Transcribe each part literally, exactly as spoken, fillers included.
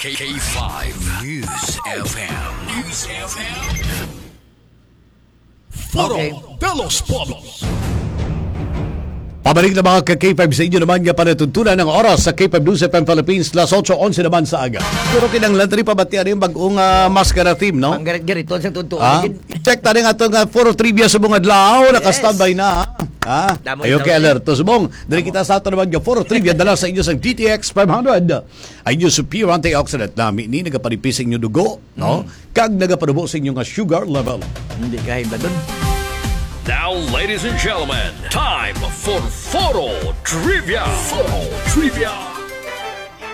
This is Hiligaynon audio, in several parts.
K five News F M. News F M. Foro Okay. de los Pueblos. Pabalik na, mga ka K five, sa inyo naman nga palatuntunan ang oras sa K five News F M Philippines, las otso onse naman sa aga. Pero kinahanglan tani pabatian yung bagong, ah, maskara theme, no? Ang garit-gariton sa tuntuan. Ah? Check tani nga itong, ah, Foro Trivia sa mga adlaw. Yes. Naka-standby na, ha? Ha? Damo Ayaw ikaw, kay eh. alerto, subong. Dali Damo. kita sa ato naman nga Foro Trivia, dala sa inyo sa D T X five hundred. Ang inyong superior antioxidant na ini nagapanipis sa inyong dugo, no? Mm. Kag nagapanubo sa inyo nga sugar level. Hindi ka hibladon. Now, ladies and gentlemen, time for Foro Trivia. Foro Trivia.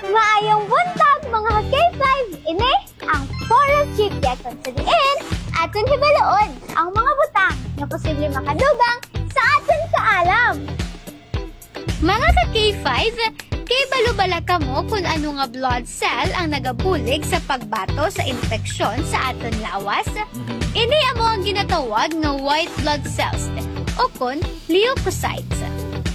Maayong buntag, mga ka K five. Ini ang Foro Trivia, kung sa diin aton hibaluon ang mga butang nga posible makadugang sa aton kaalam. Mga ka K five, kay balo bala kamo kung ano nga blood cell ang nagabulig sa pagbato sa impeksyon sa aton lawas? Mhm. Ini amo ang ginatawag nga white blood cells, o kon leukocytes.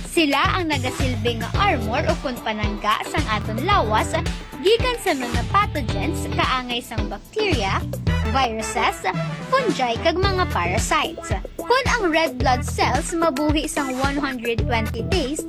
Sila ang nagasilbi nga armor o kon panangga sang aton lawas gikan sa mga pathogens kaangay sang bacteria, viruses, fungi, kag mga parasites. Kon ang red blood cells mabuhi sang one hundred twenty days,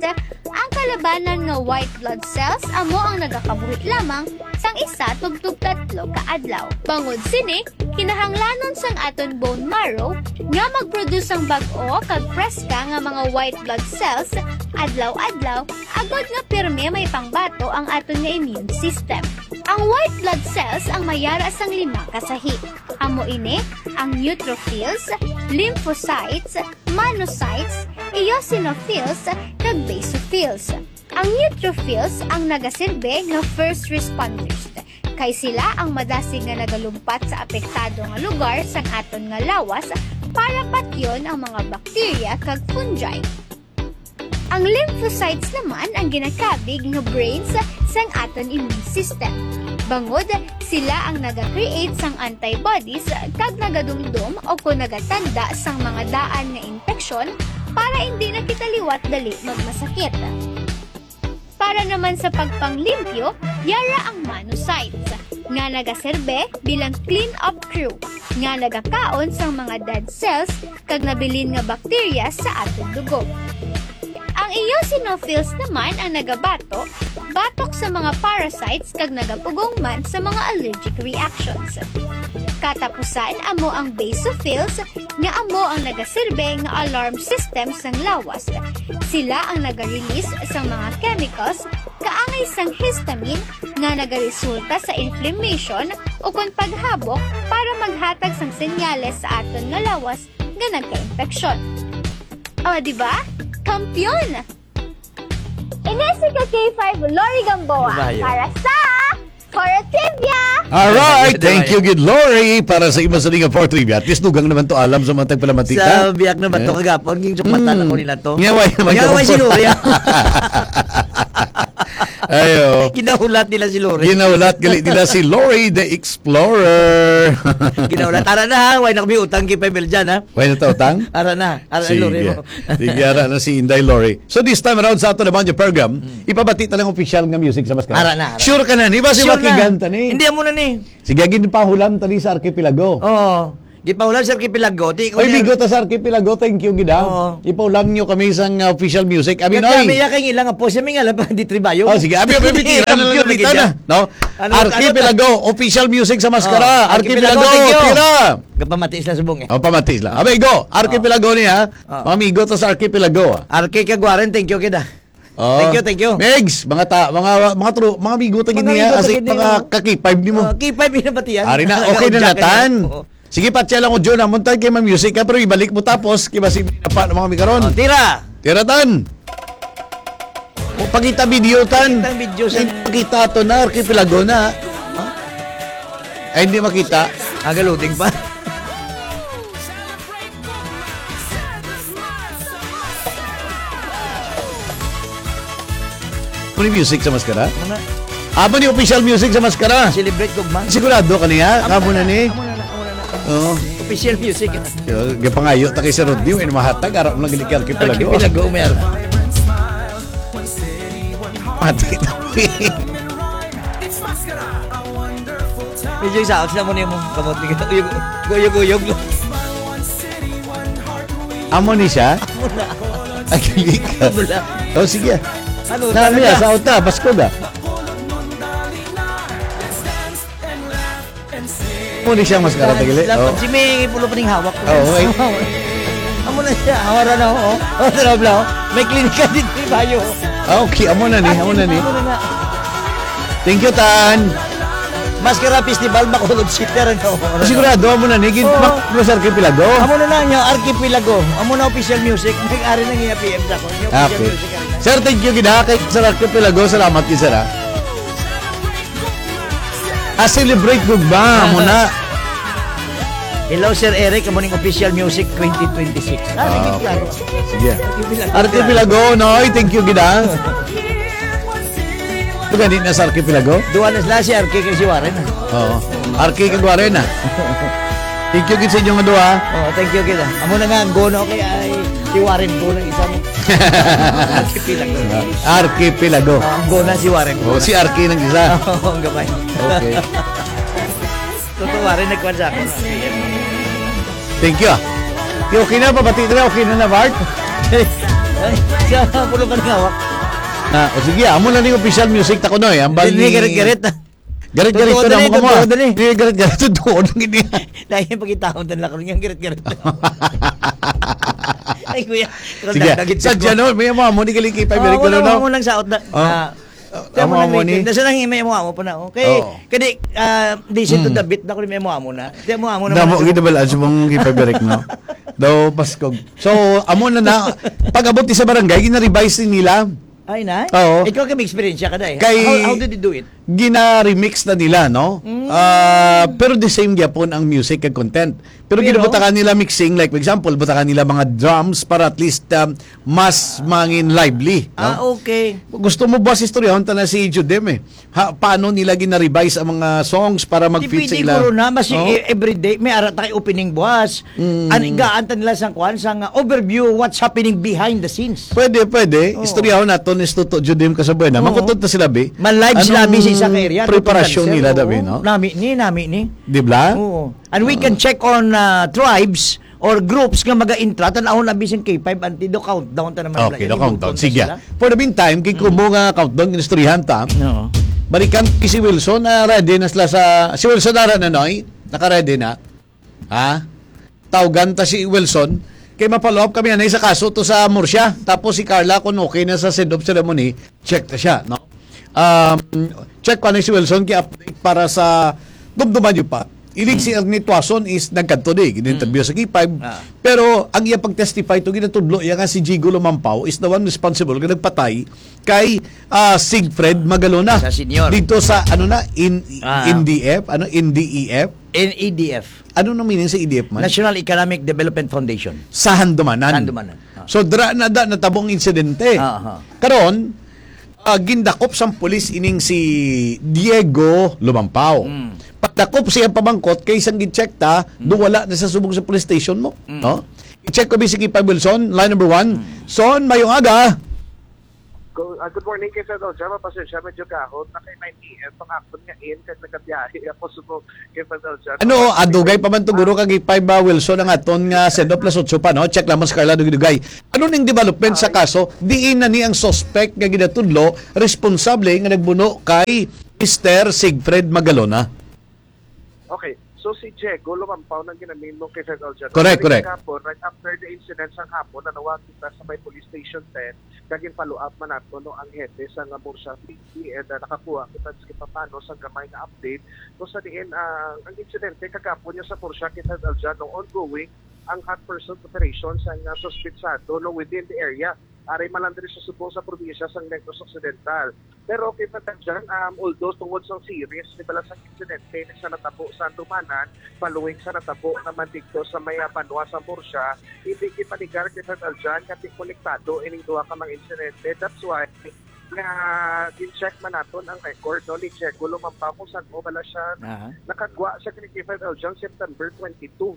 ang kalabanan nga white blood cells amo ang nagakabuhi lamang sang isa tubtob tatlo ka adlaw. Bangod sini, kinahanglanon sang aton bone marrow nga mag-produce sang bag-o kag preska nga mga white blood cells adlaw-adlaw, agod nga pirme may pangbato ang aton nga immune system. Ang white blood cells ang may ara sang lima ka sahi. Amo ini ang neutrophils, lymphocytes, monocytes, eosinophils, kag basophils. Ang neutrophils ang nagasilbi nga first responders, kay sila ang madasig nga nagalumpat sa apektado nga lugar sang aton nga lawas para patyon ang mga bakterya kag fungi. Ang lymphocytes naman ang ginakabig nga brains sang aton immune system, bangod sila ang naga-create sang antibodies kag nagadumdom o kon nagatanda sang mga daan nga impeksyon para indi na kita liwat dali magmasakit. Para naman sa pagpanglimpyo, yara ang monocytes, nga nagaserbe bilang clean-up crew, nga nagakaon sang mga dead cells kag nabilin nga bakterya sa aton dugo. Ang eosinophils naman ang nagabato batok sa mga parasites kag nagapugong man sa mga allergic reactions. Katapusan, amo ang basophils, nga amo ang nagaserbe nga alarm system sang lawas. Sila ang naga-release sang mga chemicals kaangay sang histamine nga nagaresulta sa inflammation o kon paghabok para maghatag sang senyales sa aton nga lawas nga nagka-impeksyon. O, di ba? Kampiyon! Ini si ka K five Lori Gamboa Bayo. para sa Foro Trivia. Alright, Bayo, thank bayo. you, good Lori, para sa imo sa liga for trivia. At least dugang naman to alam sa mga tagpalamati Sa ta. biyak na ba to Eh? kagapon, yung sukmatan Mm. ako nila to. Nga, way naman Nga, ka way si mag- Lori. Ayo. Ginahulat nila si Lori. Ginahulat gali nila si Lori the Explorer. Ginahulat. Tara na, ha? Way na kami utang kay Pebel dyan, ha? Way na ta utang? Ara na. Ara na, Lori Sige. mo. Sige, ara na si Inday Lori. So this time around sa ato naman yung program, Mm. ipabati ta lang official nga music sa maskara. Ara na, ara. Sure ka na, di ba si Sure na. Makigan ta ni? Hindi, amo na ni. Sige, ginpahulam ta ni sa Archipelago. Oo. Ginpahulam sa Archipelago. Di ko Oy, niya bigo ta sa Archipelago. Thank you, gid, ha? Oo. Ipahulam nyo kami sa, uh, official music. Abi, Kaya Noy. kami, ya, kay ilang apo, siya may ngalan pa, di tribayo. Oh, sige. Abi, abi, abi, tira na lang Ang kita ganda. na, no? Ano, Archipelago, ano? official music sa maskara. Oh, Archipelago, Archipelago, thank you. tira. Gapamati sila subong eh. Oh, pamati sila. Abi, go. Archipelago ni, ha? Oh. Mga amigo to sa Archipelago, ah. Arki kag Warren, thank you, kid, ah. Oh. Thank you, thank you. Megs, mga ta-, mga, mga tru-, mga amigo ta gid Mga niya, amigo ta kasi gid mga niya. ka-K five nimo. Oh, K five na ba tiyan? Ari na, okay na Jacket natan. Oo. Sige, patya lang ko, John, ah. Muntay kay ma-music ka, pero ibalik mo tapos, kay basi pa ng mga mi karon. Oh, tira. Tira, tan. O, pakita video, tan. Pakita ang video, sir. Pakita to na, Archipelago na. Ha? Ay, hindi makita. Ah, galuding pa. Ano yung music sa maskara? Ano na? Amo ni official music sa maskara. Celebrate gugma. Sigurado ka niya? Amo Amo na na, ni? amo na na, amo na na. Oo. Official music. Yo, gapangayo ta kay Sir Rodney, may mahatag, ara mo lang gini kay Archipelago. Archipelago, mer. Mati na. Yung sa, sila mo na yung kamot ni uyog, uyog, uyog. Amo ni siya? Amo na. Ang galing ka. Wala. Oh, sige. Ano, Nami, talaga? Sa uta, Pasko ga. Amo ni siya, mas karata, gili. Dapat Oh. si May pulo pa ning hawak. Oo, eh. Amo na siya, hawara na, oh. Oh, tara, bla, oh. May klinika dito, bayo. Ah, okay, amo na ni, amo na ni. Amo na na. Thank you, Tan. Maskara Festival, Bacolod City, ano? Sigurado, amo na ni. Gin-, Oo. Mak-, Mas Archipelago. Amo na na, yung Archipelago. Amo na official music. Nag-ari na niya P M sa ako. Yung Ah, official okay. music, ano na. Sir, thank you gid, ha, kay Sir Archipelago. Salamat gid, sir, ha. Ah, celebrate gugma. Amo na. Hello, Sir Eric. Amo ning official music twenty twenty-six. Ah, Ah, sige, okay. Klaro. Sige. Archipelago. Archipelago, Noy. Thank you gid, ha. Ito gani na sa Archipelago? Duha na sila, si Archie kag si Warren. Oo. Archie kag Warren, ah. Thank you gid sa inyo nga duha. Oh, thank you gid, ah. Amo na nga, ang gono kay ay si Warren po ng isa mo. Archipelago. Archipelago. Ah, ang gono si Warren. Oh, si Archie ng isa. Oo, ang gamay. Okay. Totoo, Warren, nagkuhan sa ako. Thank you, ah. Yung okay na, pabati na, okay na na, Bart? Ay, siya, pulo ka ng hawak. Ah, o sige, amo na ning official music ta kuno, eh. Ang bali Hindi, garit-garit. Garit-garit Totoo to na din, mo kamo, totoo ah. din eh. Hindi, garit-garit to, totoo lang ini. Dahil pagkitaon din lang ko, yung garit-garit. Ay, kuya, Sige. Sa January, may amo, amo ni galing kay Pabrik, Oh, ano, wala no? Mo nang saot na. Oh. Ah, Ah, kaya mo amo, nang amo ni. Nasa nang may amo, amo pa na, oh. Kay, Oo. Kadi, ah, di si to Mm. David na ko ni may amo, amo na. Di amo, amo na Damo, mo na. Ginabalaan sa mong kay Pabrik, no? Daw, Paskog. So, amo na na, pag-abot ni sa barangay, gina-revise ni nila. Ay, na? Oo. Ikaw kay may eksperyensya ka, day. Kay How, how did you do it? Gina-remix na nila, no? Mm. Ah, pero the same gyapon ang music kag content. Pero Pero ginabutakan nila mixing, like, for example, butakan nila mga drums para at least, um, mas mangin lively, no? Ah, okay. Gusto mo ba sa istoryahon ta na si Judem, eh? Ha, paano nila gina-revise ang mga songs para Di mag-fit sa pwede ila? Guro na, mas Oh? i-, everyday, may ara ta kay opening buwas. Mm. An igaan ta nila sang kwan, sang, uh, overview, what's happening behind the scenes. Pwede, pwede. Oo. Istoryahon naton is Tuto Judem Kasabuena. Oo. Mangutod ta sila, bi. Ma-live sila, Anong bi, sa isa ka area, preparasyon Tuto nila, Dancer? Dabi, Oo. no? Nami ni, nami ni. Di ba? Oo. And we can Oh. check on, uh, tribes or groups nga maga-intra, tan-awon na bising K five, anti do countdown ta naman Okay, nila, do countdown. Sige. Sila. For the meantime, kay Mm. Kumo nga countdown, inistoryahan ta. Oo. Balikan kay si Wilson, ah, ready na sila sa, si Wilson ara na, Noy? Naka-ready na? Ha? Tawgan ta si Wilson. Kay ma-follow up kami, anay sa kaso to sa Murcia. Tapos si Carla, kung okay na sa send-off ceremony, check ta siya, no? Um, check pa ni si Wilson, kay update para sa dumduman niyo pa. Ilig si Hmm. Ernie Tuason is nagkadto di, gin-interview Hmm. sa K five. Ah. Pero ang iya pag-testify to, ginatudlo iya nga si Jigo Lumampao is the one responsible nga nagpatay kay, ah, Sigfred Magalona. Sa senior. Dito sa, ano na, in, Ah. N D F? Ano, N D E F? N E D F. Ano nang meaning sa E D F man? National Economic Development Foundation. Sa Handumanan. Handumanan. Ah. So, dra na da natabo ang insidente. Ah, aha. Karon, ah, gindakop sang pulis ining si Diego Lumampao. Mm. Pagdakop siya pamangkot kay sang gin-check ta, Mm. do wala na sa subong sa police station mo, Mm. no? I-check ko, B C K five Wilson, line number one. Mm. Son, mayong aga. Go-, ah, good morning kay Fred Aljan. Mapasensya, medyo gahod na kay nine A M ang akon nga in, kag nagabiyahe ako subong kay Fred Aljan. Ano, ah, dugay pa man to, guro, kag five, ah, Wilson, ang aton nga send-off, plus otso pa, no? Check lamang sa Carla, dugay-dugay. Ano ning development sa Ay. kaso? Diin na ni ang suspect nga ginatudlo, responsable nga nagbuno kay Mister Sigfred Magalona? Okay. So, si Diego Lumampao nang ginamimo kay Fred Aljan. Correct, Kaya correct. kahapon, right after the incident sang hapon, nanawag kita sa may police station ten, kag in-follow up man nato, no, ang hepe sa nga Murcia P D, and, ah, nakakuha kita sa papano sa gamay nga update. Kung sa diin, ah, ang insidente kagapon niya sa Murcia, kay Fred Aljan, no, ongoing ang hot pursuit operation sa nga suspetsado, no, within the area. Ari man lang diri sa subong sa probinsya sang Negros Occidental. Pero okay pa ta dyan, um, although tungod sa series, di bala sa insidente, sa natabo sa Handumanan, following sa natabo naman dito sa may, ah, banwa sa Murcia, hindi gipaligar kay Fred Aljan nga di konektado ining duha ka mga insidente. That's why nga gin-check man naton ang record, no, ni Diego Lumampao kung saan mo bala siya Aha. nakagwa sa kay Fred Aljan September twenty-two.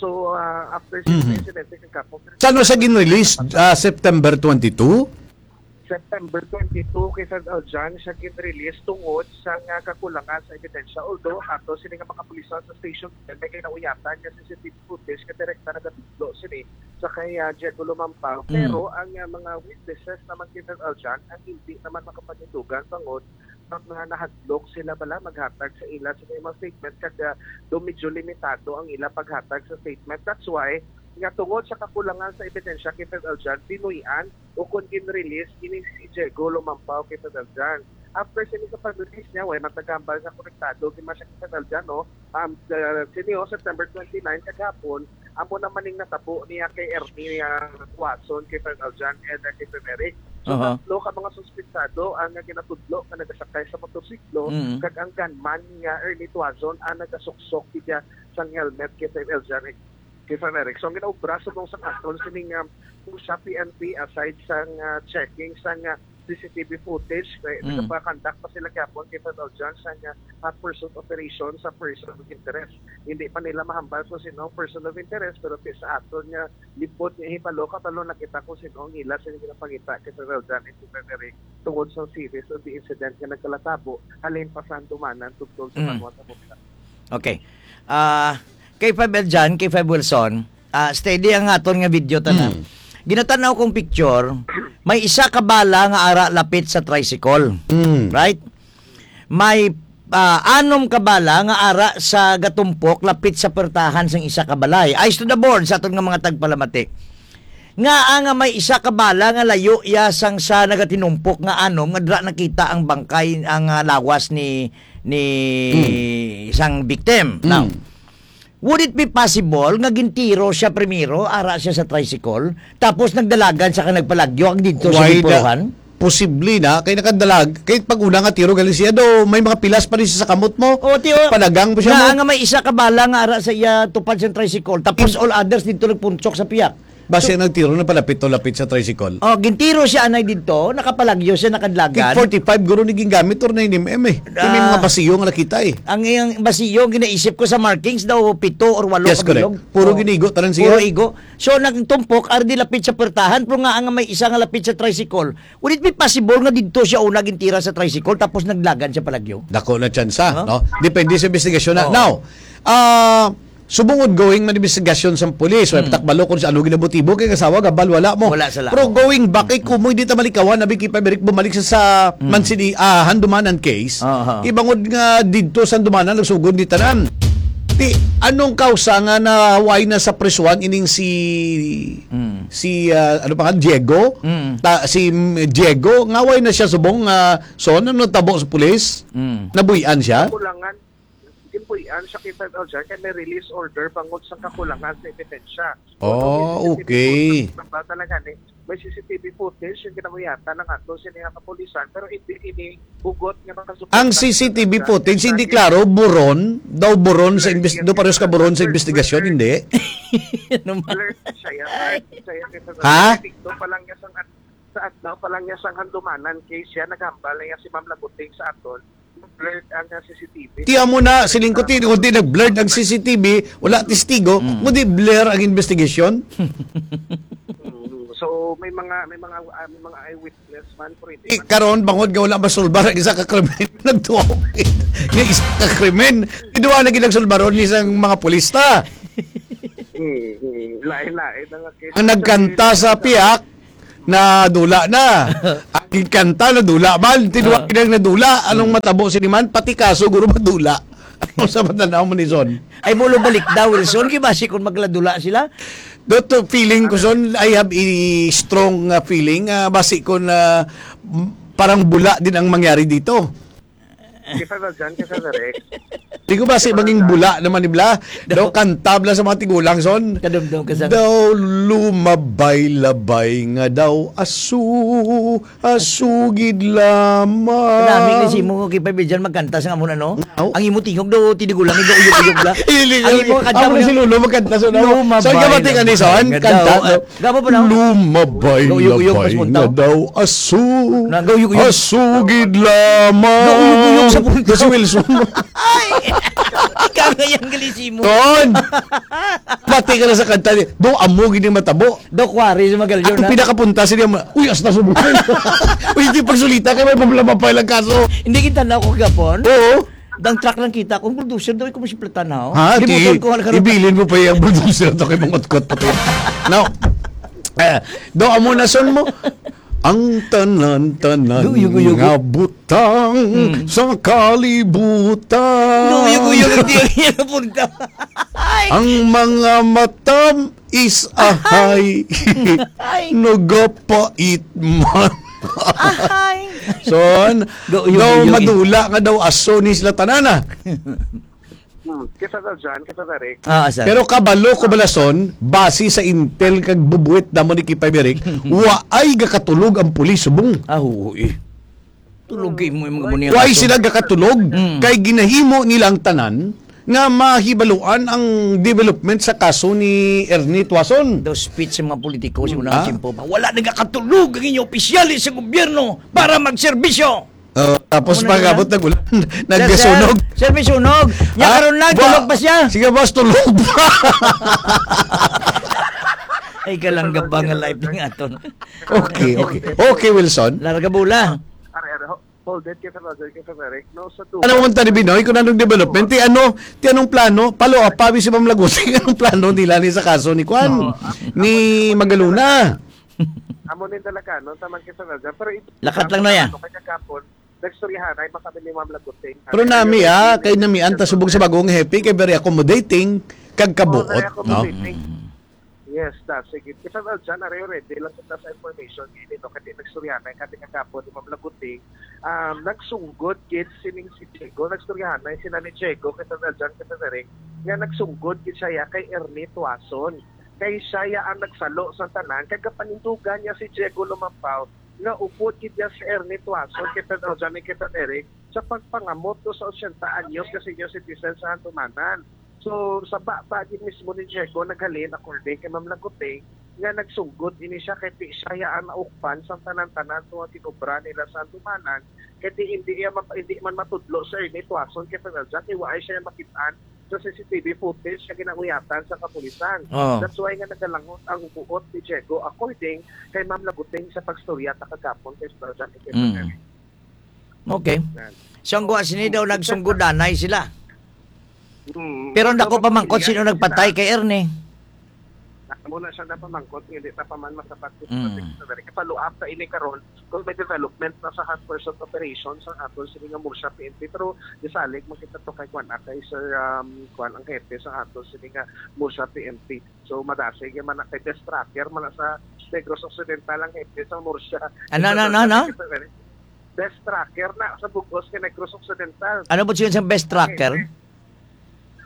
So, ah, after six Mhm. incidente kagapon. Saan mo siya gin-release? Ah, September twenty-two? September twenty-two, kay Fred Aljan siya gin-release tungod sa nga kakulangan sa ebidensya. Although, ato sini nga mga pulisan sa Station ten, may ginauyatan nga C C T V footage nga direkta nagatudlo sini sa kay, ah, Diego Lumampao. Mm. Pero ang, ah, mga witnesses naman kay Fred Aljan ang hindi naman makapanindugan tungod nga nahadlok sila bala maghatag sa ila sa mga statement, kag, ah, do medyo limitado ang ila paghatag sa statement. That's why nga tungod sa kakulangan sa ebidensya kay Fred Aljan, binuy-an o kon gin-release ini si Diego Lumampao kay Fred Aljan. After sini sa pag-release niya, way matagambal nga konektado gid man siya kay Fred Aljan, no? Um, uh, sini, oh, September twenty-nine, kagahapon, amo naman ning natabo niya kay Ernie, ah, Tuason, kay Fred Aljan, and, uh, kay Fred Eric. So, Aha. tatlo ka mga suspetsado ang, ah, ginatudlo nga nagasakay sa motorsiklo, Mm. kag ang gunman nga Ernie Tuason ang nagasuksok gid sang helmet kay Fred Aljan, kay Fred Eric. So, ang ginaobra subong sang aton sining, um, sa P N P, aside sang, ah, checking sang, ah, C C T V footage, kay Mm. nagapa-conduct pa sila gihapon kay Fred Aljan sang, ah, hot pursuit operation sa person of interest. Hindi pa nila mahambal kung sino ang person of interest, pero ti-, sa aton nga libot nga hibalo, kabalo na kita kung sino ang ila sa ginapangita kay Fred Aljan and si Fred Eric tungod sa series of the incident nga nagkalatabo halin pa sa handumanan tungtol sa Mm. Banwa sa Bukid. Okay. Ah, K five Eljan, K five Wilson, ah, steady ang aton nga video tanan. Mm. Ginatanaw kong picture, may isa ka bala nga ara lapit sa tricycle. Mm. Right? May, ah, anom ka bala nga ara sa gatumpok lapit sa pertahan sang isa ka balay. Eyes to the board sa aton nga mga tagpalamati. Nga, ah, nga may isa ka bala nga layo iya sang sa nagatinumpok nga anom nga dira nakita ang bangkay, ang, ah, lawas ni, ni Hmm. sang victim. Now, Hmm. would it be possible nga gintiro siya primero, ara siya sa tricycle, tapos nagdalagan siya kag nagpalagyo ang didto sa Why the gipuruhan? Posible na, kay nakadalag, kay pag una nga tiro gali siya do, may mga pilas pa rin siya sa kamot mo. O, tiyo, Palagang po siya na mo. nga may isa ka bala nga ara sa iya tupad sa tricycle, tapos In- all others didto nagpunsok sa piyak. Basi So, nagtiro na palapit to lapit sa tricycle. Oh, gintiro siya anay didto, nakapalagyo siya, nakadlagan. Tig forty-five guro ni gingamit or nine M M eh. Kay may mga Ah. basiyo nga nakita eh. Ang iyang basiyo, ginaisip ko sa markings daw, pito or walo Yes, ka correct. bilog. Puro Oh. ginigo, tanan siya. Puro igo. So, nagtumpok, ari di lapit sa pertahan, pero nga ang may isa nga lapit sa tricycle, would it be possible nga didto siya una gintira sa tricycle tapos naglagan siya palagyo? Dako na tsansa, Huh? no? Depende sa investigasyon na. Oo. Now, ah, subong ongoing man investigasyon sa pulis, way Hmm. patakbalo kung sa ano ginamotibo kay kasawa gabal wala mo. Wala sila. Pero going back, kay kumoy di ta malikawan, abi kay Pabrik bumalik sa, sa Hmm. Mancini, ah, Handumanan case. Aha. Ibangod nga didto sa Handumanan nagsugod ni tanan. Ti, anong kausa nga naway na sa prisuhan ining si Hmm. si, ah, ano pa nga, Diego? Mm. Ta-, si, mm, Diego, nga way na siya subong, ah, so, ano natabo sa pulis? Mm. Nabuy-an siya? Kakulangan, ginbuy-an siya kay Fred Aljan kay may release order bangod sa kakulangan sa ebidensya. Oh, Although may C C T V okay. footage, basta talaga ni, may C C T V footage yung ginamuyatan ng ato sini nga kapulisan, pero hindi ini hugot nga makasupporta Ang sa C C T V footage, hindi klaro, buron, daw buron sa Yes, imbes-, yes, daw parehas ka yes. buron sa First, investigasyon, first, hindi? Ano man? Alert siya, alert siya, kay Fred Ha? Aljan. Dito pa lang niya sang sa adlaw pa lang niya sang Handumanan case siya, naghambal na niya si Ma'am Labuting sa aton. Blurred ang, ah, C C T V. Tiyan mo na, siling ko, ti-, kung di nag-blurred ang C C T V, wala testigo, Mm. mo di blur ang investigation. Mm. So, may mga, may mga, ah, may mga eyewitness man, pero hindi Eh, man karon, bangod nga wala masulbar ang isa ka krimen, nagtuwa ko. Nga isa ka krimen, iduha na ginagsulbaron ni isang mga pulista. Mm, mm. Lain-lain na nga case. Ang nagkanta sa piyak, nadula na. Ang kanta, nadula man. Tinuwa Ah. kinang nadula. Anong Hmm. matabo sini man? Pati kaso, guro, madula. Ano sa matanaw mo ni Son? Ay, mulo balik daw, Wilson. Kay basi kung magladula sila. Dot, feeling ko, Son, I have a strong, uh, feeling. Uh, basi kung, uh, m-, parang bula din ang mangyari dito. Kay Fred Aljan, kay Fred Eric. Di ko ba si Kay Fred maging Aljan. bula naman ni Bla? Daw Daw kanta bla sa mga tigulang, son. Kadumdum ka sa Daw lumabay-labay nga daw aso, asugid lamang. Kanami ni si mo kay Pabidyan magkanta sa amon, ano? Aw. Ang imo tingog daw, tinigulang, daw uyog-uyog bla. Ili Ang imo kanta Amo mo si na, Lolo magkanta sa, no? lumabay So, gabati ka ni, labay son? nga Kanta, daw, no? Gabo pa na. Lumabay-labay Gauyog-uyog, pas punta. nga daw aso. Na, gauyog-uyog. Asugid lamang. Gauyog-uyog sa punta. Si Wilson. Ay! Ikaw nga yung gali simo. Ton! Pati ka na sa kanta ni, do amo gini matabo. Do kwari sa Magallanes, Ang na? pinakapunta sa niya, ma-, "Uy, hasta subong." Uy, di pagsulita kay may problema pa ilang kaso. Hindi kita na ako kagapon. Oo. Dang truck lang kita, kung bulldozer daw, ikaw mo si Platanaw. Ha? Di Di, mo ko, wala ka rin. ibilin mo pa yung bulldozer to kay mangutkot pa to. Now, eh, do amo na son mo. Ang tanan-tanan Guyog-guyog. nga butang Hmm. sa kalibutan. Guyog-guyog, hindi yan napunta. Ay! Ang mga matam is ahay. Ay! Nagapait man. Ahay! Son, Guyog-guyog. daw madula nga daw aso ni sila tanana. Hmm. Kay Father John, kay Father Eric. Ah, sir. Pero kabalo ko balason, base sa intel kag bubuit damo ni Kipay Eric, wa ay gakatulog ang pulis subong. Ah, oo, eh. Tulog kay mo yung mga muni ang Why aso. sila gakatulog? Mm. Kay ginahimo nila ang tanan nga mahibaluan ang development sa kaso ni Ernie Tuason. Daw speech sa mga politiko sa Mm, unang ah? tiyempo pa. Wala nagakatulog ang inyong opisyales sa gobyerno para magserbisyo. Oh, tapos Amo na pagkabot nila. nag-ulan, Sir, nagkasunog. sir, sir, may sunog. Nya Ah, karon na, wa-, tulog pa siya. Sige, boss, tulog pa. Ay, kalangga ba nga live nga aton? Okay, okay. Okay, Wilson. Larga bola. Are, are, ho-, hold it, kay Father, kay Father Eric. No, sa Ano man tani, Binoy, kung anong development? Ti ano, ti anong plano? Palo, ah, pawi si Ma'am Lagusing, anong plano nila ni sa kaso ni Kwan? Oo, ah, Ni Magaluna? Amo ni talaga, no? Tama kay Father John. Pero ito, Lakat lang na yan. ano, kay kagapon, nagstoryahan ay makami ni Ma'am Lagusing. Pero Ano, nami, ano, ah, ano, kay namian ta ano, subong sa bagong hepe, kay very accommodating, kag Oo, kabuot, very no? accommodating. Mm. Yes, ta, sige. Kay Father John, are, ready lang kita sa information. Gini, no? Kay nagstoryahan ay kami kagapon ni Ma'am Lagusing. Um, nagsunggod gid sining si Diego, nagstoryahan ay sila ni Diego, kay Father John, kay Father Eric, nga nagsunggod gid siya ya kay Ernie Tuason. Kay siya ya ang nagsalo sa tanan, kay kapanindugan niya si Diego Lumampaw, nga upod gid niya si Ernie Tuason, kay Father John, kay Father Eric, sa pagpangamot to sa otsenta anyos nga senior citizen sa Handumanan. So, sa baba gid mismo ni Diego naghalin, according kay Ma'am Laguteng, nga nagsunggod ini siya kay di siya ya ang naukpan sang tanan-tanan tungod kinobra nila sa Handumanan, kay di, hindi iya map-, hindi man matudlo si Ernie Tuason kay Father John, kay wa ay siya makit-an sa C C T V footage nga ginauyatan sa kapulisan. Oh. That's why nga nagalangot ang buot ni Diego, according kay Ma'am Laguteng sa pagstorya ta kagapon kay Father John, kay Mm. Father. Okay. Yan. So, ang guwa sini daw, nagsunggodanay sila. Mm. Pero Pero dako pa man kung sino nagpatay kay Ernie. Amo na siya napamangkot, hindi na pa man masapat. Mm. Follow up ta ini karon kung may development na sa hot pursuit operation sa aton sini nga Murcia P N P. Pero gisalig man kita to kay Kwan, ah, kay Sir, um, Kwan, ang hepe sa aton sini nga Murcia P N P. So, madasig man na kay best tracker man na sa Negros Occidental ang hepe sa Murcia. Ano, ano, ano, ano? Best tracker na sa bug-os kay Negros Occidental. Ano po siya sa best tracker? Okay.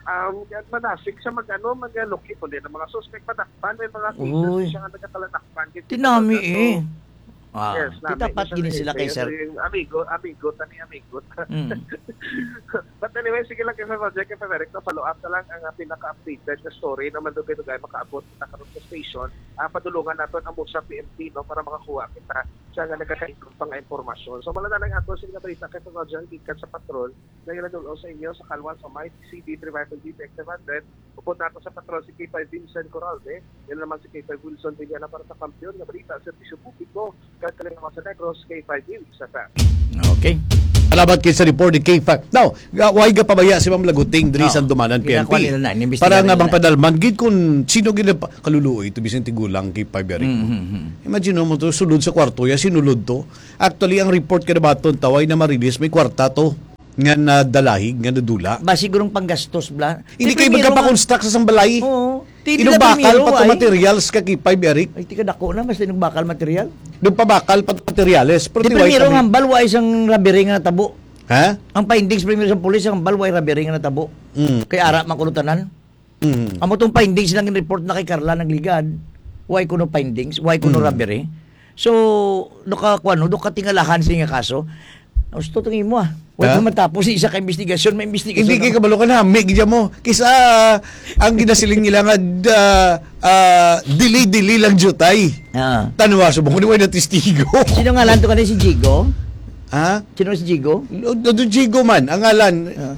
Um, yan, manasik sa mag-, ano, mag-locate, kundi ng mga suspect, madakpan, may mga cases Uy. siya nga nagkakaladakpan. Tinami eh. Ah, yes, nami. Kita pat Isa gini na sila kay isa, sir. Yung amigo, amigo, tani amigo. Mm. But anyway, sige lang kay Sir Roger, kay Sir Eric, no, follow up na lang ang, ah, pinaka-updated na story na mandugay-dugay makaabot kita karon sa station. Ah, padulungan naton ang Murcia P M P, no, para makakuha kita siya nga nagkakaingon pa nga impormasyon. So, mala na lang ato sa mga balita kay Sir Roger, gikan sa patrol, na ginadul-ong sa inyo sa Kalwan sa Mighty C D three five Detective hundred. Upod nato sa patrol si K five Vincent Coralde, yan naman si K five Wilson Villana para sa Kampiyon nga Balita, Serbisyo Publiko, kag Kalingawan sa Negros, K five News F M. Okay. Salamat kay sa report ni K five. Now, ga-, way gapabaya si Ma'am Laguting diri Oo. sa Dumanan Ginakuha P N P. nila na, inimbestigahan Para nga nila. bang padalman gid kung sino gid ang pa-, kaluluoy to, bisan tigulang K five Eric. Mm, mm, mm. Imagine mo to, sulod sa kwarto, ya sinulod to. Actually, ang report ka na baton, taway na marilis, may kwarta to. nga nadalahig, nga nadula. Ba, sigurong panggastos, bla? Hindi Di kayo primero magkapakonstruct sa isang balay. Oo. Di nila Inubakal primero, pa to ay. materials ka kipay, Eric. Ay, tika dako na, mas inubakal material. Doon pabakal pa to materials. Pero Di di primero wala nga kami. hambal, wa isang robbery nga natabo. Ha? Ang findings primero sa pulis, ang hambal, wa robbery nga natabo. Mm. Kay ara, makulutanan. Mm. Amo tong findings lang in report na kay Carla nagligad. Why kuno findings? Why kuno Mm. robbery? So, nakakuan, no, nakatingalahan sa nga kaso. Gusto tong imo, ah. Wala Ha? pa matapos sa isa ka investigasyon, may investigasyon Hindi na. kay kabalo ka na, may gidya mo. Kisa, ang ginasiling nila nga, ah, ah, delay-delay lang jutay. Ah. Tanwa, subong ko ni wala testigo. Sino nga lang to ka si Jigo? Ha? Sino si Jigo? Do, do, do Jigo man, ang ngalan. Ah.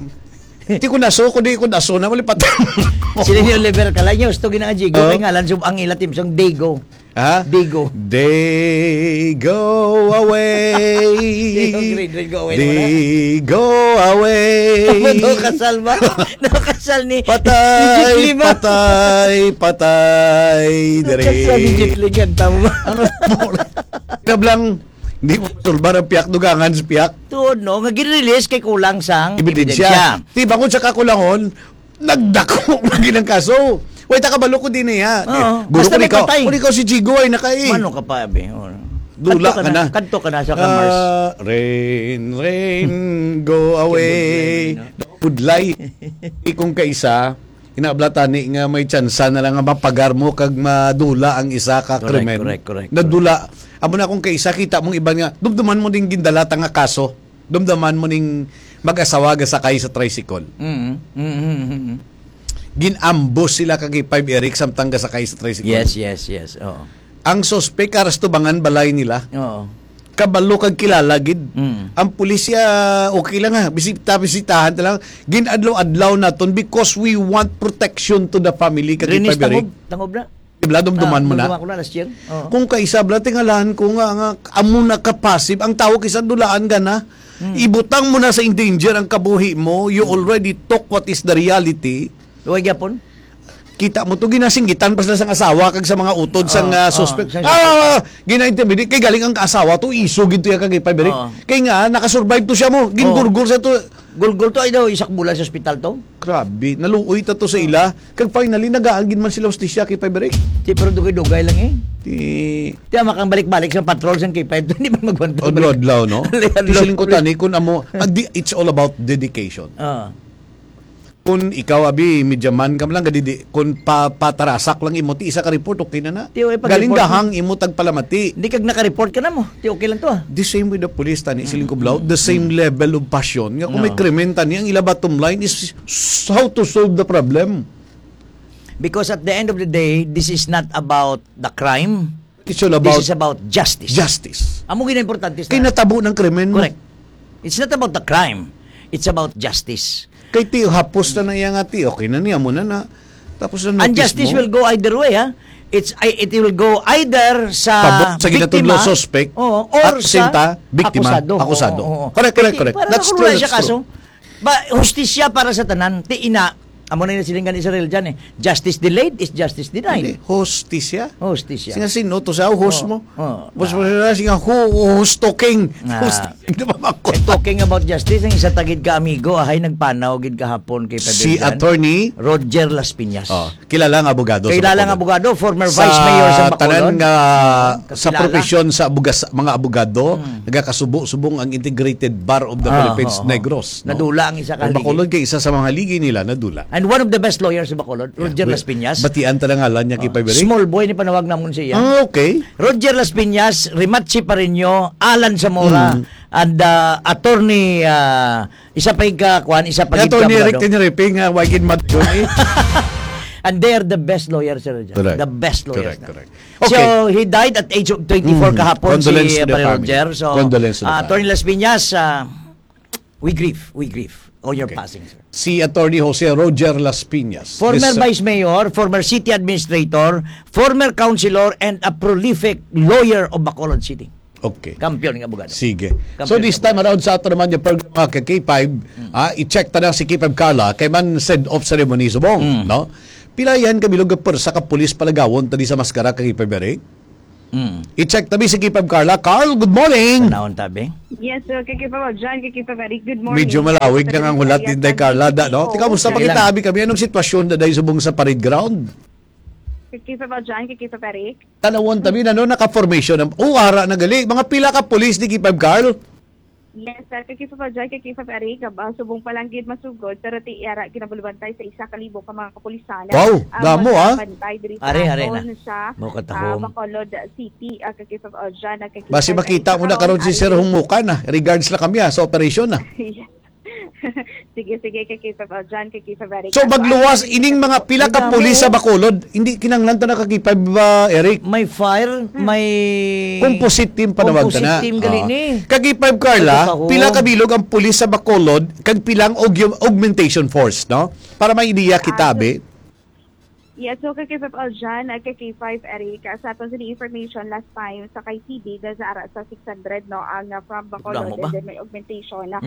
Ti ko naso, ko di ko naso na, malipat. Sila ni Oliver Calay, niya, gusto gina-, Jigo, Oh. kay ngalan sub-, ang ila team song Digo. Ha? Digo. They go away. Digo, grade, grade, go away naman, ha? They go away. Ano, kasal ba? Nakasal ni, ni Patay, Jet Li ba? patay, patay, diri. Nakasal ni Jet Li, kanta mo ba? Ano po? Kablang, di mo sulbar ang piyak, dugangan sa piyak. Tuod, no? Nga gin-release kay kulang sang Ebidensya. Di ba kung sa kakulangon, nagdako lagi ng kaso. Way, ta kabalo ko din eh, ha? Oo. Guro Basta ko may ikaw. Patay. Kung ikaw si Jigo ay nakai. Mano ka pa, abi? Oo. Dula Kadto ka ka na. na. Kadto ka na sa Kamars. Ah, rain, rain, go away. Kibudlay, no? Budlay. Ikong kaisa, inaabla tani nga may tsansa na lang nga mapagar mo kag madula ang isa ka Correct, krimen. correct, correct, Nadula. Amo na akong kaisa, kita mong iban nga, dumduman mo ding gindala ta nga kaso. Dumduman mo ning mag-asawa ga sakay sa tricycle. Mm, mm, mm, mm, mm. Gin-ambush sila kag five Eric samtang ga sakay sa tricycle. Yes, yes, yes. Oo. Ang suspek, aras tubangan balay nila. Oo. Kabalo kag kilala gid. Mm. Ang pulisya, okay lang ha. Bisita-bisitahan ta lang. Gin-adlaw-adlaw naton because we want protection to the family kag Rinis five Eric. Tangob, tangob na. Di ba, dumduman Ah, mo na? dumduman ko na, last year. Oo. Kung kaisa, bla, tingalahan ko nga, nga amo na ka-passive. Ang tao kisa dulaan ka na. Hmm. Ibutang mo na sa in danger ang kabuhi mo. You Hmm. already talk what is the reality. Luway gyapon? Kita mo to, ginasinggitan pa sila sang asawa kag sa mga utod sang, Oo, ah, oo, suspect. sang Ah, suspect. gina-intimidate. Kay galing ang asawa to, iso gid to ya kag five Eric. Oo. Kay nga, nakasurvive to siya mo. Oo. Gingurgor sa to. Gulgol to, ay daw, isak bulan sa ospital to. Grabe, naluoy ta to sa ila. Kag finally, nagaagin man sila hustisya kay Pabrik. Di, pero dugay-dugay lang eh. Di, Di, ama kang balik-balik sa patrol sang K five, di man magwantag. Adlaw-adlaw, no? Adlaw-adlaw. Di siling ko tani, kung amo, ah, di, it's all about dedication. Ah. Kung ikaw, abi, media man ka man lang, gadi, di, kung pa, patarasak lang imo, ti isa ka report, okay na na. Ti, okay, pag-report Galing mo. Gahang imo tagpalamati. Di kag naka-report ka na mo. Ti, okay lang to, ah. The same with the police, tani, siling ko, Blau, the same level of passion. Nga kung may No. krimen, tani, ang ila bottom line is s-, how to solve the problem. Because at the end of the day, this is not about the crime. It's all about This is about justice. justice. Amo gid ang importante sa Kay natabo ng krimen mo. Correct. It's not about the crime. It's about justice. Kay ti, hapos na na iya nga ti, okay na niya mo na na. Tapos na And notice justice mo. will go either way, ha? It's, I, it will go either sa Pabor sa ginatudlo biktima, suspect, oo, or at the same sa time, biktima, akusado. akusado. Oo, oo. Correct, correct, Kay ti, correct. para That's true, makulong siya that's true. kaso. Ba, hustisya para sa tanan. Ti ina, amo na yung silingan ni Israel dyan eh. Justice delayed is justice denied. Hindi, hustisya. Hustisya. Singa sino to sa host Oo, mo? oo. Boss mo sila, singa who, who's talking? Ah. Who's talking? Di ba, makot? Eh, talking about justice, ang isa tagid ka amigo, ahay, nagpanaw gid kahapon kay Si Pabidlan. Attorney? Roger Las Piñas. Oh, kilala nga abogado sa Kilala nga Bacolod. abogado, former Sa vice mayor sa Bacolod. tanan nga, Oo, sa kakilala. profesyon sa abugas-, mga abogado, Hmm. nagakasubo-subong ang Integrated Bar of the Ah, Philippines oo, oo. Negros, no? Nadula ang isa ka Ang haligi. Bacolod kay isa sa mga haligi nila, nadula. And one of the best lawyers sa Bacolod, Yeah. Roger Wi-, Las Piñas. batian ta na ngalan niya kay Ah, Pabrik? Small boy ni panawag namon siya. Ah, okay. Roger Las Piñas, Rimachi Pareño, Alan Zamora, Mm. and, ah, attorney, ah, isa pa yung ka-, kuwan, isa pa yung Attorney Rick abogado. Tiniriping, ah, wagin mat-, yun, eh. And they are the best lawyers, sir, dyan. Correct. The best lawyers Correct, na. correct. So, Okay. he died at age of twenty-four Mm. kahapon, Condolence si, to the Pare family. Roger. So, Condolence to the ah, family. Attorney Las Piñas, ah, we grieve, we grieve on your Okay. passing, sir. Si Attorney Jose Roger Las Piñas. Former This, uh, Vice Mayor, former city administrator, former councilor, and a prolific lawyer of Bacolod City. Okay. Kampiyon nga abogado. Sige. Kampiyon So, this nga time abogado. around sa ato naman yung program, mga ka-K five, Mm. ah, i-check ta na si K five Carla, kay man send-off ceremony subong, Mm. no? Pilayan kami lugar per sa kapulis palagawon tadi sa maskara kay K five Eric. Mm. I-check tabi si K five Carla. Carl, good morning. Panahon tabi. Yes, sir. Kay K five John, kay K five Eric, good morning. Medyo malawig na nga ang hulat din, Day Carla, da, no? Tika, musta Sige pakita lang. abi kami? Anong sitwasyon na, Day, subong sa parade ground? Kay K five John, kay K five Eric. Tanawon tabi na, no? Naka-formation na. Oh, ara na gali. Mga pila ka pulis ni K five Carl? Yes, sir. Kay K five John, kay K five Eric, ah, subong pa lang gid masugod, pero ti ara ginabulbantay sa isa ka libo ka mga kapulisan. Wow, Ang damo, ah. magbantay diri Are, are na. sa, Mo katahom. ah, Bacolod City, ah, kay K five John, ah, kay Basi K five makita Eric. mo na karon si Sir Humukan, ah. Regards lang kami, ah, sa operasyon, ah. Yes. Sige, sige, kay K five Aljan, kay K five Eric. So, magluwas, ining mga pila ka pulis sa Bacolod, hindi kinahanglan ta na ka K five, ah, Eric? May fire, may composite team panawag ta na. Composite team gali ni. Kag K five Carla, pila ka bilog ang pulis sa Bacolod, kag pila ang aug-, augmentation force, no? Para may ideya kita, ah, so, be. Yes, so kay K five Aljan, ah, kay K five Eric, ah, sa aton sini information last time sa kay T B, dahil sa ara sa six hundred, no, ang, ah, from Bacolod, and then may augmentation, ah,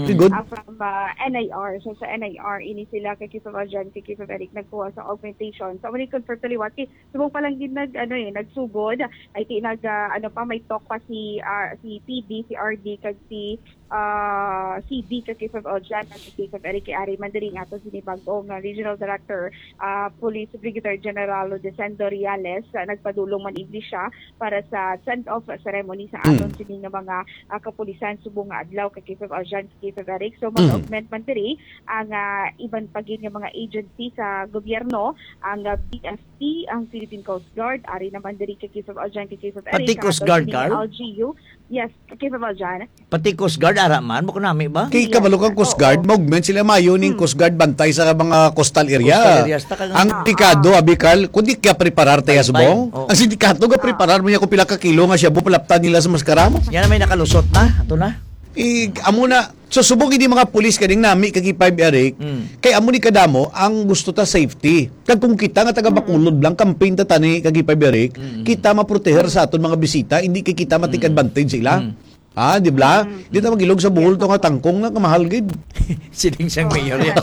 from, ah, N I R. So sa N I R, ini sila kay K five Aljan, kay K five Eric, nagkuha sa augmentation. So, mali confirm to liwat, kay subong pa lang gid nag, ano eh, nagsugod, ay ti nag, ah, ano pa, may talk pa si, ah, si T B, si R D, kag si ah, C D ka K five Aljan, ka K five Eric, kay ari man diri nga aton sini bag-o nga Regional Director, ah, Police Brigadier General Rudesendo Reales, ah, nagpadulong man iglesia para sa send-off ceremony sa aton sini nga mga, ah, kapulisan subong nga adlaw ka K five Aljan, ka K five Eric. So, mag-augment man diri ang, ah, iban pa gid nga mga agency sa gobyerno, ang, ah, B F P, ang Philippine Coast Guard, ari naman diri ka K five Aljan, ka K five Eric, Pati Coast Guard, Carl? L G U. Yes, ka K five Aljan. Pati Coast Guard, ara man, mo kunami ba? Kay kabalo kang Coast Guard, mag-augment sila, maayo ning Coast Guard bantay sa mga coastal area. Coastal areas, ta kang Ang delikado, abi, Carl, kundi kaya preparar tayo Baybay. Subong. Oo. Ang sindikato ga preparar mo niya kung pila ka kilo nga shabu palaptan nila sa maskara mo. Yan na may nakalusot na, ato na. Eh, amo na, so subong hindi mga pulis kaning nami kag K five Eric, Mm. kay amo ni kadamo ang gusto ta safety. Kag kung kita nga taga Bacolod lang, campaign ta tani kag K five Eric, Mm. kita maproteher sa aton mga bisita, hindi kay kita ma-take Mm. advantage sila. Mm. Ah, di ba? Mm. Di ta mag-ilog sa Bohol to nga tangkong na kamahal gid. Siling siyang mayor yan.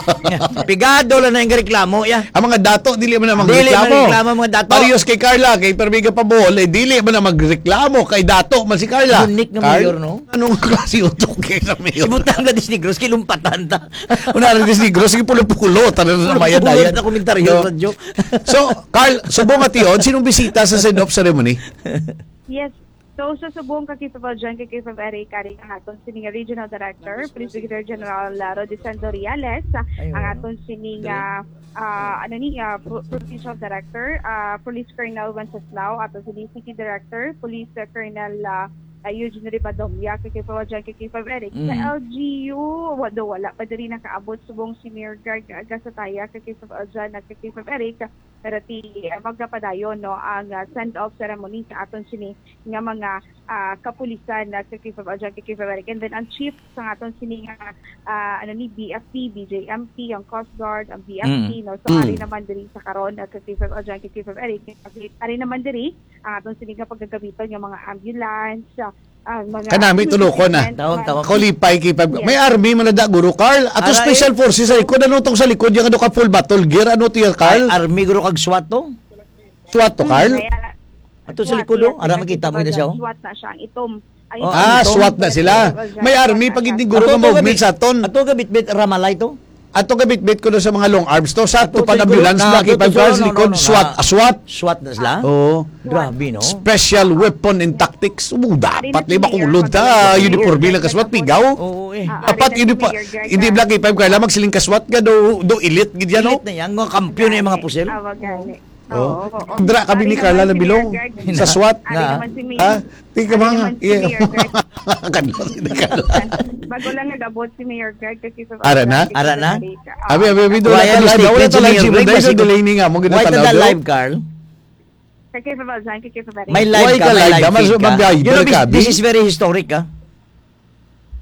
Pigado lang na yung reklamo, ya. Ang mga dato, dili man na Dili magreklamo. man reklamo, mga dato. Parehas kay Carla, kay Permiga pa Bohol, eh, dili man na magreklamo kay dato man si Carla. Unique nga Carl, mayor, no? Anong klase utok kay sa mayor? Ibutang na Disnegros, kilumpatan ta. Una rin Disnegros, sige pulo-pulo, tanan na Pulo-pulo mayad-ayad. na komentaryo, No? radyo. So, Carl, subong ation, sinong bisita sa send-off ceremony? Yes. So, sa subong ka K five Aljan, ka K five Eric, ari ang aton sini nga Regional Director, Police Brigadier General, ah, Rudesendo Reales, ah, Ayun. ang aton sini nga, ah, ano ni, ah, pro-, Provincial Director, ah, Police Colonel Wenceslao, aton sini City Director, Police, ah, Colonel, ah, ah, Eugene Rivadonga, ka K five Aljan, ka K five Eric. Sa Mm. L G U, wa-, do, wala pa diri nakaabot subong si Mayor Greg Gasataya, ka K five Aljan, ka K five Eric. Pero ti, ah, magapadayon, no, ang, ah, send-off ceremony sa aton sini nga mga, ah, kapulisan na sa K five Aljan, ka K five Eric. And then ang chief sa aton sini nga, ah, ano ni, B F P, B J M P, ang Coast Guard, ang B F P, Mm. no. So, Mm. ari naman diri sa karon, ah, ka K five Aljan, ka K five Eric. Ari naman diri ang aton sini nga pagagamiton nga mga ambulance, ah, ang mga Kanami, tulukon na. equipment, Taon, taon. Kolipay kay pag Yes. may army man na da, Guru Carl. Ato Ara, special eh. forces sa likod, ano tong sa likod, yung ano ka full battle gear, ano to yan, Carl? Ay, army, guro, kag SWAT to? SWAT to, Carl? Hmm, kaya, Ato sa SWAT, likod, yes, oh. Ara, nakita makita mo na siya, oh. SWAT na siya, ang itom. Ay, Oh, Ah, ito. SWAT na sila. May army pag hindi guro Ato, ka ato, movement gabit-, sa aton. ato, gabit-bit, ramalay to? Ato gabit-bit ko na sa mga long arms to. Sa Ato, ato pa sa na likod, ambulance na, na, ato kipag sa, sa no, no, likod, no, SWAT, no. ah, SWAT. SWAT na sila? Oo. Grabe, no? Special Weapon and Tactics. Oo, dapat Ari na may si Mayor makulod Mayor ta. Mayor Uniforme lang ka SWAT, Mayor pigaw. Oo, eh. Ah, Dapat ari na si uniform. Mayor Greg Hindi na. lang kay five Carla, magsiling ka SWAT ka, do, do elite, gid yan, no? Elite na yan. Mga kampiyon na yung mga pusil. Ah, wag gani. Oh. Oo, oo. Dra kami Ari ni Carla naman si Nabilong Mayor Greg. sa SWAT. Ari Na. naman si Mayor. Ha? Tika Ari mga, naman si yeah. Mayor Greg. Kadlot ni Carla. Bago lang nag-abot si Mayor Greg kasi sa Ara na? Ara na? Amerika. Abi, abi, abi, Why wala are you talaga, wala mistaken si talaga Mayor si Greg? Munday sa Basi delay ni nga mo Why ginatanaw, the do? live, Carl? Kay Kevin Valjean, kay Kevin Valjean. May live Why ka, ka may live, live ka? feed ka. Mag-, mag-, You know, mag-, this, this is very historic, ah.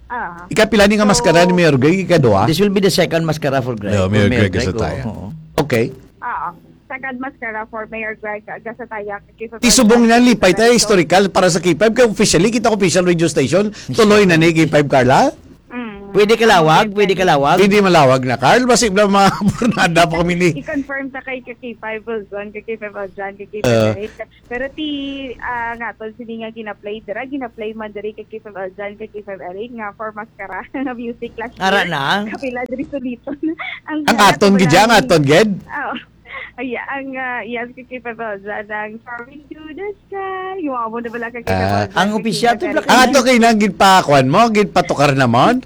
Ah. Ikapila ni nga maskara ni Mayor Greg? Ikaduha? This will be the second mascara for Greg, Yeah, for Mayor Mayor Greg Greg, Gasataya. oo, oo. Okay. Ah, second mascara for Mayor Greg Gasataya. Kay Ti subong na lipay tayo, historical para sa K five. Kaya officially, kita ko official radio station. Tuloy na ni K five, Carla? Mm. Pwede kalawag? Pwede kalawag? Hindi malawag na, Carl. Basi na mga pornada pa kami ni I-confirm ta kay ka K five, Wilson, ka K five, Aljan, ka K five, Uh, Eric. Pero ti, ah, nga, tol, sini nga gina-play dira, gina-play man diri kay K five Aljan, kay K five Eric, nga for mascara, nga music last Ara year. na? Kapila diri suliton. Ang Ang aton gid, ang aton gid? Oo. Ay, ang, ah, yes, kay K five Aljan, ang Soaring to the Sky. Yung amo na bala kay K five Ah, Aljan, ang kay opisyal K five to Eric. Black Ang ato kay nang ginpakuan mo, ginpatukar naman?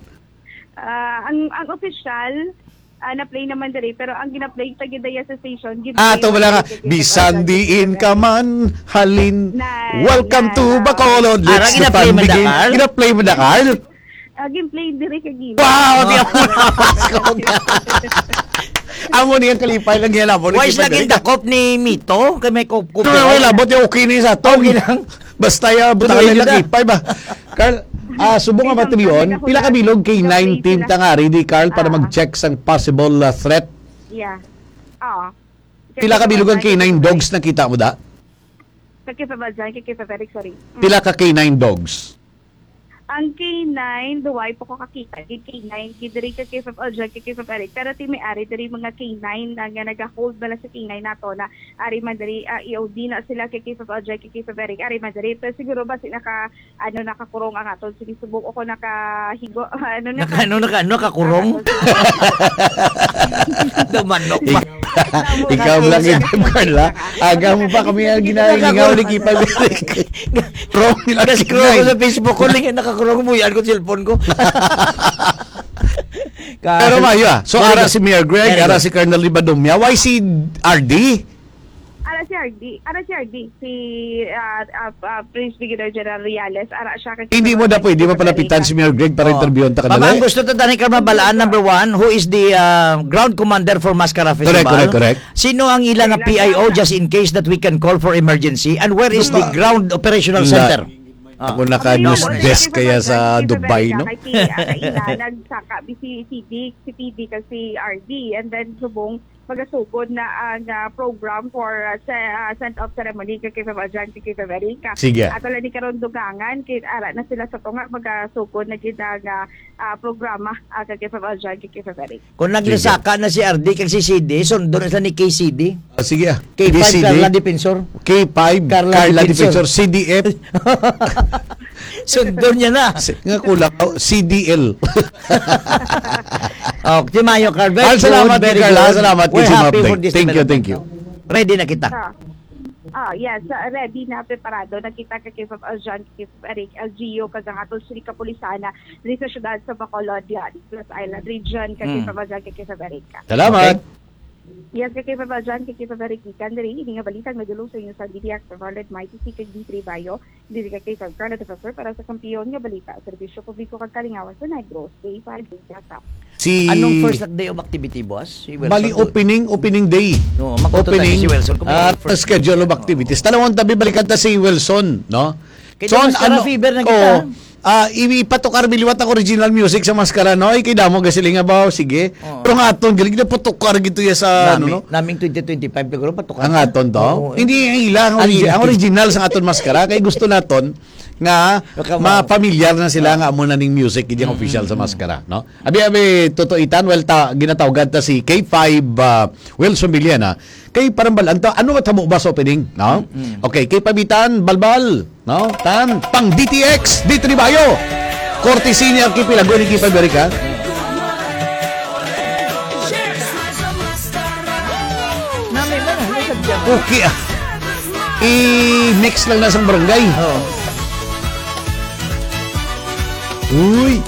Ah, ang, ang opisyal, ah, na-play naman diri, pero ang gina-play ta gid daya sa station, gid Ah, play to wala nga. diri kay Bisan Kevin diin Alvarez. ka man, halin. Na, Welcome na, to na. Bacolod. Ara, Let's gina-play man da, Carl? Gina-play man da, Carl? Laging play diri kay Gina. Wow! Di ako napasko ka. Amo niya kalipay lang yan, amo ni Why is Gina lagi Gary. Dakop ni Mito? Kay may kup-, kup-, Pero wala, buti okay ni sa aton. Okay lang. Basta ya, buta Tuloy lang yun na. Kalipay ba? Carl, ah, subong nga Ikaw, bateryon, ikaw, pila ka bilog kay ikaw, nine team ikaw. Tangari di, Carl, para Ah. Mag-check sang possible, ah, threat? Yeah. Oo. Pila ka bilog ang K nine dogs nakita mo da? Kay K five Aljan, kay K five Eric, sorry. Mm. Pila ka K nine dogs? Ang K nine, duway pa ko kakita. Kay K nine, kay diri ka K five Aljan, kay K five Eric. Pero ti may ari diri mga K nine na nga nag-hold bala sa K nine nato na ari man diri, ah, E O D na sila kay K five Aljan, kay K five Eric. Ari man diri. Pero siguro ba si naka, ano, nakakurong ang aton sinisubok o kung nakahigo, ano na Naka-, ano, naka-, ano, nakakurong? Dumanok pa. Ik-, ikaw lang yun, Carla. Aga mo pa kami ang ginalingaw ni Kipag. Wrong nila Gas-, scroll ko sa Facebook ko, lingi, nakakurong mo, yan ko cellphone ko. Pero maayo, ah. So, Very ara good. Si Mayor Greg, Very ara good. Si Colonel Ribadumia. Why si R D? Ara si R D, ara si R D, si, ah, ah, ah, Prince Brigadier General Reales, ara siya kay Hindi mo na pwede mapalapitan si Mayor Greg para Oh. Interviewon ta ka Ma'am, dali? Ang gusto ta tani ka mabalaan, number one, who is the, ah, ground commander for Mascara Festival? Correct, correct, correct. Sino ang ila nga Kailan P I O na? Just in case that we can call for emergency? And where is the Diba? Ground Operational La-, Center? Ah. Ako naka-news Ano yun? desk Ano yun? kaya sa Ano yun? Dubai, no? Kay si, ah, kay ila, nagsaka, si, si Dick, si T D, kag si R D, and then subong, magasugod na ang, ah, program for, ah, se-, ah, send-off ceremony kay K five Aljan, kay K five Eric. Sige. Ato lang ni karon dugangan, kay ara na sila sa tunga, magasugod na gid ang, ah, ah, programa, ah, kay K five Aljan, kay K five Eric. Kung Sige. Naglasaka na si R D kag si C D, sundon na sila ni K C D. Ah, sige, ah. K five, Carla Defensor. K five, Carla Carla Defensor. Defensor, C D F. Sundon niya na. Si-, nga kulang, oh, C D L. Oh, ti maayo, Carl. Very Al, salamat, good, very Carl. Good. Salamat, We're Kay happy Mabdeng. For this Thank you, thank you. Development. Ready na kita. Ah. Ah, yes. Ah, ready na, preparado na kita kay K five Aljan, kay K five Eric, L G U, kag ang aton sini kapulisan na diri sa siyudad sa Bacolod, yan, Plus Island Region, kay Mm. K five Aljan, kay K five Eric. Salamat. Okay. Yes, kay K five Aljan, kay K five Eric, gikan diri, ini nga balita nga dulong sa inyo sa D T X, Bacolod, Mighty C, kag D three Bayo. Diri ka kay Sir Carlo Defensor para sa Kampiyon nga Balita, Serbisyo Publiko kag Kalingawan sa Negros, Day five, Day Plaza. Si Anong first day of activity, boss? Si Wilson Bali, doon. Opening, opening day. No, mag-auto tayo Opening, si Wilson kung may ah, first schedule day. Of activities. Tanawon tabi, balikan ta si Wilson, no? Kay So, Maskara ano, Fever na kita. Oh, ah, i-, ipatukar mi liwat ang original music sa Maskara, no? Ay, kay damo gasiling nga ba? Sige. Oo. Pero nga aton, galing na patukar gito ya sa, ano, Nami-, no? Naming twenty twenty-five, siguro, patukar Ang na. Aton to? Oo, eh. Hindi, ang ila, ang Ang origi-, ila. Ang original sa aton Maskara. Kay gusto naton nga Baka ma- mapamilyar na sila Ah. nga amo na ning music, iyang Mm, official sa mm, mm. Maskara, no? Abi, abi, tutuitan, well, ta-, ginatawgan ta si K five, ah, Wilson Villena. Kay parang bal-, ang ta-, ano nga tamo ba sa opening, no? Mm, mm. Okay, kay Pabitan, Balbal, no? Tan, pang D T X, D three Bayo. Courtesy ni Archipelago ni Kipa America. Nami man, ano sa dyan? Okay, ah. I-mix lang na sa barangay. Oo. Uy.